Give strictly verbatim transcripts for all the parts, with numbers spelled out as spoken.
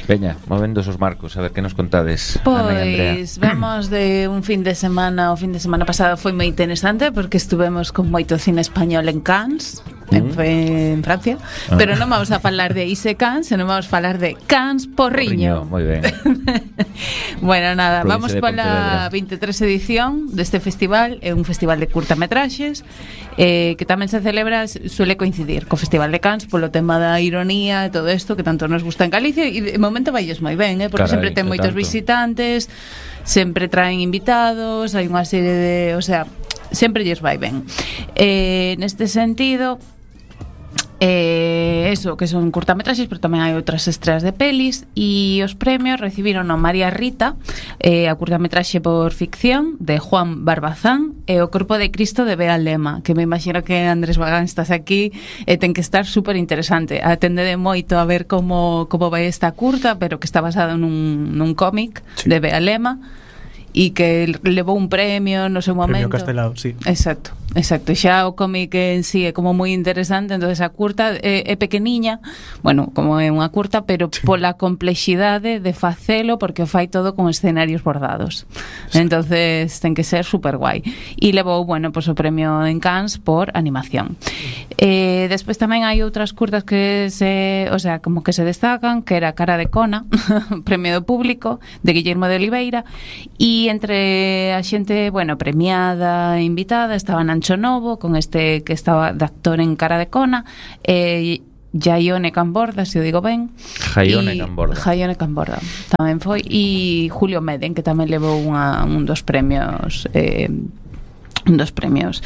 Veña, movendo esos marcos, a ver que nos contades, Ana e Andrea. Pois vamos de un fin de semana, o fin de semana pasado foi moi interesante porque estuvemos con moito cine español en Cannes, en, en Francia, ah. pero non vamos a falar de Ise Cannes, senón vamos a falar de Cannes Porriño. Moi ben. Bueno, nada, vamos pola veintitrés edición deste festival, é un festival de curtametraxes eh, que tamén se celebra, suele coincidir co Festival de Cannes polo tema da ironía e todo isto que tanto nos gusta en Galicia, e de momento vailles moi ben, eh, porque Carai, sempre ten moitos tanto. visitantes, sempre traen invitados, hai unha serie de, o sea, sempre lles vai ben. Eh, neste sentido, Eh, eso, que son curtametraxes, pero tamén hai outras estreas de pelis, e os premios recibiron a María Rita, eh, a curtametraxe por ficción de Juan Barbazán, e o Corpo de Cristo de Bea Lema, que me imagino que Andrés Bagán estás aquí e ten que estar super interesante. Atendede moito a ver como, como vai esta curta, pero que está basada nun, nun cómic sí. de Bea Lema, e que levou un premio no seu momento. Premio Castelao, sí. Exacto, exacto. Xa o cómic en sí é como moi interesante, entonces a curta é, é pequeniña, bueno, como é unha curta, pero sí. pola complexidade de facelo, porque o fai todo con escenarios bordados. Sí. Entonces ten que ser super guai. E levou, bueno, pues o premio en Cannes por animación. Eh, despois tamén hai outras curtas que se, o sea, como que se destacan, que era Cara de Cona, premio do público, de Guillermo de Oliveira, e entre a xente, bueno, premiada e invitada estaba Nancho Novo, con este que estaba de actor en Cara de Cona, e Jaione Camborda, se o digo ben. Jaione Camborda. Jaione Camborda tamén foi, e Julio Meden, que tamén levou unha, un dos premios eh, un dos premios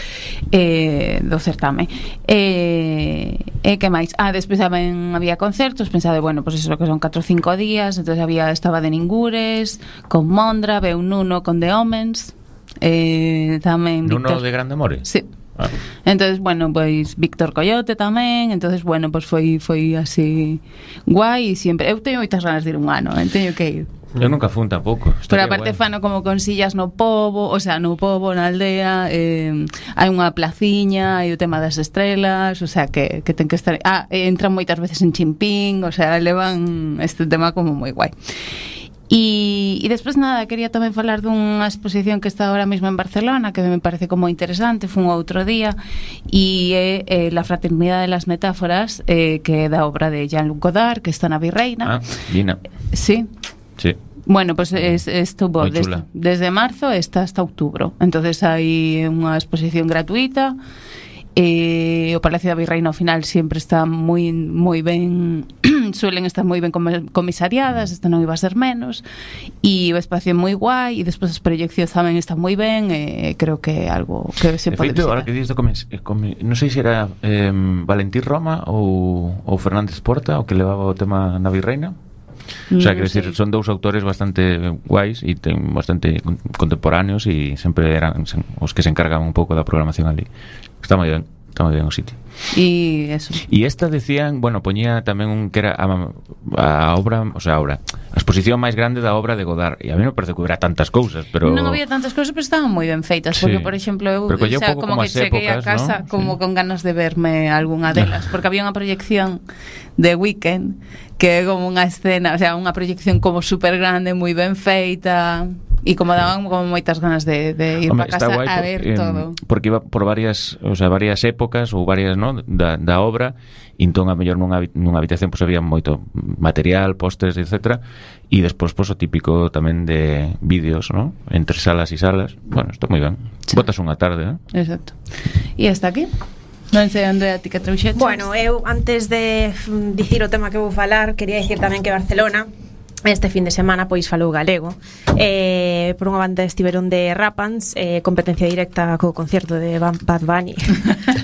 eh, do certame. E eh, eh, que máis? Ah, despois tamén había concertos, pensade, bueno, pois pues eso que son catro ou cinco días, entonces había, estaba de Ningures, con Mondra, veu Nuno con The Omens, eh, tamén Nuno Víctor... de Grande More? Sí. Ah. Entonces, bueno, pois Víctor Coyote tamén, entonces, bueno, pois foi foi así guai, e sempre eu teño moitas ganas de ir un ano, eh, teño que ir. Eu nunca fun tampouco. Pero aparte bueno. fano como con sillas no pobo, o sea, no pobo, na aldea, eh, hai unha placiña, hai o tema das estrelas, o sea, que, que ten que estar... Ah, entran moitas veces en chimpín, o sea, levan este tema como moi guai. E, e despois nada, quería tamén falar dunha exposición que está ahora mesmo en Barcelona, que me parece como interesante, fun outro día, e é eh, La Fraternidade de las Metáforas, eh, que é da obra de Jean-Luc Godard, que está na Virreina. Ah, Gina. Sí. Sí. Bueno, pues es, estuvo desde, desde marzo está hasta outubro. Entonces hai unha exposición gratuita. Eh, o Palacio da Virreina ao final sempre está moi moi ben, suelen estar moi ben comisariadas, esta non iba a ser menos, e o espacio é moi guai, e despois as proyeccións tamén están moi ben, e eh, creo que é algo que se pode visitar. Ahora que dices do comis, comis, non sei se era eh, Valentín Roma ou, ou Fernández Porta o que levaba o tema na Virreina. O sea, quero dicir, son dous autores bastante guais e ten bastante contemporáneos, e sempre eran os que se encargaban un pouco da programación ali. Está moi ben, está moi ben o sitio. E eso. E esta decían, bueno, poñía tamén un que era a, a obra, o sea, a obra, a exposición máis grande da obra de Godard. E a mí non parece que hubiera tantas cousas, pero non había tantas cousas, pero estaban moi ben feitas, sí. Porque por exemplo, eu o sea, como, como que cheguei épocas, a casa, ¿no? Como sí. Con ganas de verme algunha delas, porque había unha proyección de Weekend que é como unha escena, o sea, unha proyección como super grande, moi ben feita. E como daban como moitas ganas de, de ir para casa a por, ver eh, todo. Porque iba por varias, o sea, varias épocas ou varias, ¿no? da, da obra, e entón a mellor nunha, nunha habitación pues, había moito material, pósters, etcétera, e despois pues, o típico tamén de vídeos, ¿no? Entre salas e salas. Bueno, está moi ben. Sí. Botas unha tarde, ¿no? Exacto. E hasta aquí. Non sei, Andrea, ti que trouxeches? Bueno, eu antes de dicir o tema que vou falar, quería dicir tamén que Barcelona este fin de semana pois falou galego. Eh, por unha banda estiveron de Rapans, eh, competencia directa co concerto de Bad Bunny.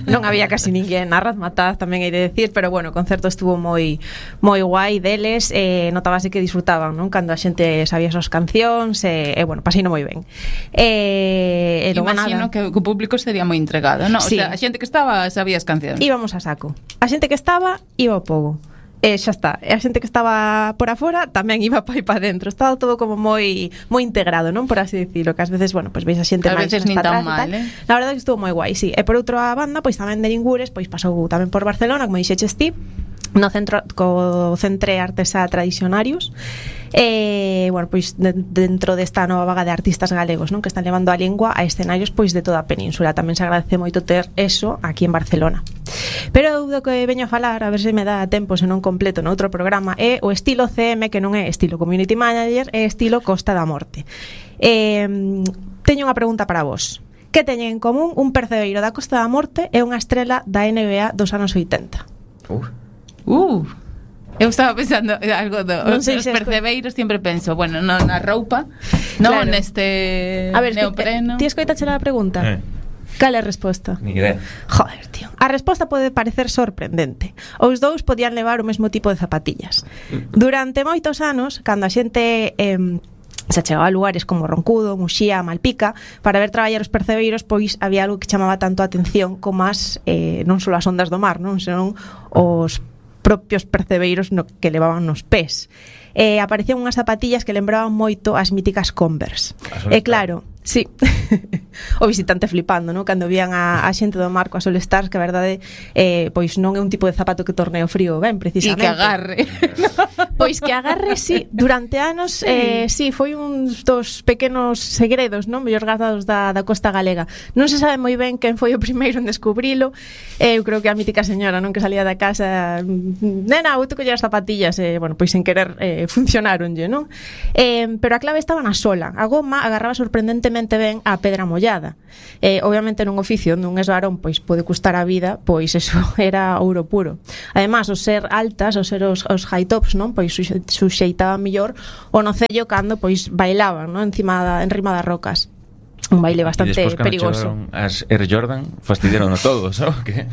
Non había casi ninguén na Razmataz, tamén hai de decir, pero bueno, o concerto estuvo moi moi guai deles, eh, notábase que disfrutaban, non? Cando a xente sabía as súas cancións, e eh, eh, bueno, paseino moi ben. Eh, e imagino nada, que o público sería moi entregado, non? Sí. O sea, a xente que estaba sabía as cancións. Íbamos a saco. A xente que estaba iba ao pogo. E xa está, e a xente que estaba por afora tamén iba para aí para dentro, estaba todo como moi moi integrado, non por así dicilo, que ás veces, bueno, pois veis a xente máis nin tan mal, eh? La verdade é que estuvo moi guai, sí. E por outra banda, pois tamén de Ningures, pois pasou tamén por Barcelona, como dixeches ti, no centro co Centre Artesá Tradicionarios. E, bueno, pois de, dentro desta nova vaga de artistas galegos, non, que están levando a lingua a escenarios pois de toda a península. Tamén se agradece moito ter eso aquí en Barcelona. Pero do que veño a falar, a ver se me dá tempo, se non completo noutro programa, é o estilo C M, que non é estilo Community Manager, é estilo Costa da Morte. Eh, teño unha pregunta para vos. Que teñen en común un percebeiro da Costa da Morte e unha estrela da N B A dos anos oitenta? Uh. Uh. Eu estaba pensando algo do, non sei os se percebeiros, sempre penso, bueno, no, na roupa, non claro. Neste a ver, neopreno. Ti escoitache a pregunta? Eh. Cal é a resposta? Ni idea. Joder, tío. A resposta pode parecer sorprendente. Os dous podían levar o mesmo tipo de zapatillas. Durante moitos anos, cando a xente eh, se chegaba a lugares como Roncudo, Muxía, Malpica, para ver traballar os percebeiros, pois había algo que chamaba tanto a atención como as eh, non só as ondas do mar, non, senón os propios percebeiros no que levaban nos pés. Eh, aparecían unhas zapatillas que lembraban moito as míticas Converse. E claro, sí. O visitante flipando, ¿no? Cando vían a, a xente do mar coas All Stars, que a verdade eh, pois non é un tipo de zapato que torne o frío ben, precisamente. E que agarre. Pois que agarre, sí. Durante anos, sí, eh, sí foi un dos pequenos segredos, non, mellor guardados da, da costa galega. Non se sabe moi ben quen foi o primeiro en descubrilo. Eh, eu creo que a mítica señora, non, que salía da casa, nena, vou te coller as zapatillas, e, eh, bueno, pois sen querer eh, funcionaronlle, non? Eh, pero a clave estaba na sola. A goma agarraba sorprendentemente ben a pedra mollada. Eh, obviamente nun oficio onde un esbarón pois pode custar a vida, pois eso era ouro puro. Además, o ser altas, o ser os, os high tops, non, pois suxeitaba mellor o nocello cando pois bailaban, non, encima da, en rima das rocas. Un baile bastante perigoso. As Air Jordan fastidiaron a todos, ¿no? Que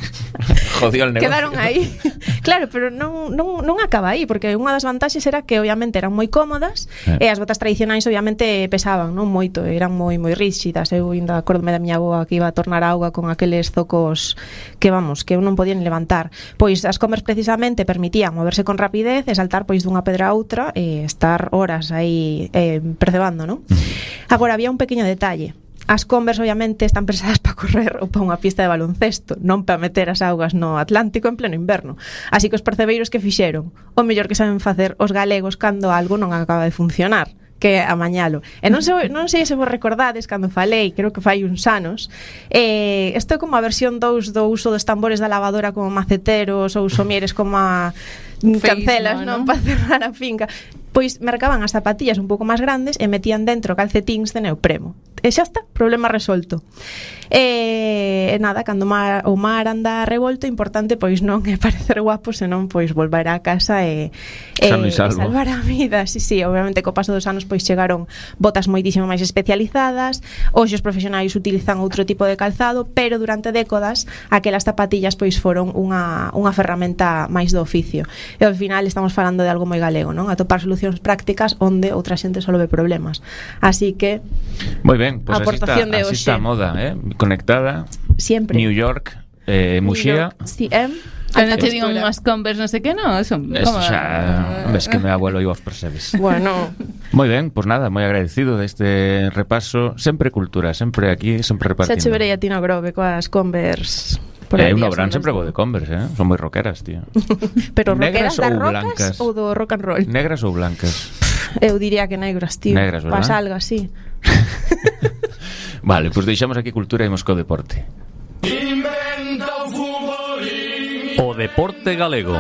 jodió el negocio. Quedaron aí. Claro, pero non, non, non acaba aí, porque unha das vantaxes era que obviamente eran moi cómodas, eh. e as botas tradicionais obviamente pesaban, non moito, eran moi moi rígidas. Eu ainda acordome da miña avoa que iba a tornar auga con aqueles zocos que, vamos, que eu non podían levantar. Pois as Converse precisamente permitían moverse con rapidez e saltar pois dunha pedra a outra e estar horas aí eh, percebando, non? Agora, había un pequeño detalle. As Converse obviamente están pensadas para correr ou para unha pista de baloncesto, non para meter as augas no Atlántico en pleno inverno. Así que os percebeiros que fixeron, o mellor que saben facer os galegos cando algo non acaba de funcionar, que amañalo. E non sei, non sei se vos recordades cando falei, creo que fai uns anos, eh, isto é como a versión dous do uso dos tambores da lavadora como maceteros ou somieres como a cancelas, non, para cerrar a finca. Pois mercaban as zapatillas un pouco máis grandes e metían dentro calcetíns de neopreno. E xa está, problema resolto. E, e nada, cando mar, o mar anda revolto, importante pois non é parecer guapo, senón pois volver a casa e, e, e salvar a vida. Sí, sí, obviamente co paso dos anos pois chegaron botas moitísimo máis especializadas. Hoxe os profesionais utilizan outro tipo de calzado, pero durante décadas aquelas zapatillas pois foron unha, unha ferramenta máis do oficio. E ao final estamos falando de algo moi galego, non? Atopar solucións prácticas onde outra xente só ve problemas. Así que moi ben, pois pues así, así está a moda, eh? Conectada. Siempre. New York, eh, Muxía. Sí, eh? Cando te digo unhas Converse, non sei que, non, son como... Eso xa, ves que me abuelo e vos percebes. Bueno. Moi ben, pois pues nada, moi agradecido deste repaso, sempre cultura, sempre aquí, sempre repartindo. Xa che verei a ti no Grove coas Converse. É eh, un Obrán sempre vou de Converse, eh? Son moi rockeras, tío. Pero negras rockeras das ou rocas blancas? Ou do rock and roll? Negras ou blancas? Eu diría que negras, tío. Negras, verdad? Pas algo así. Vale, pois pues deixamos aquí cultura e imos co deporte. O deporte galego.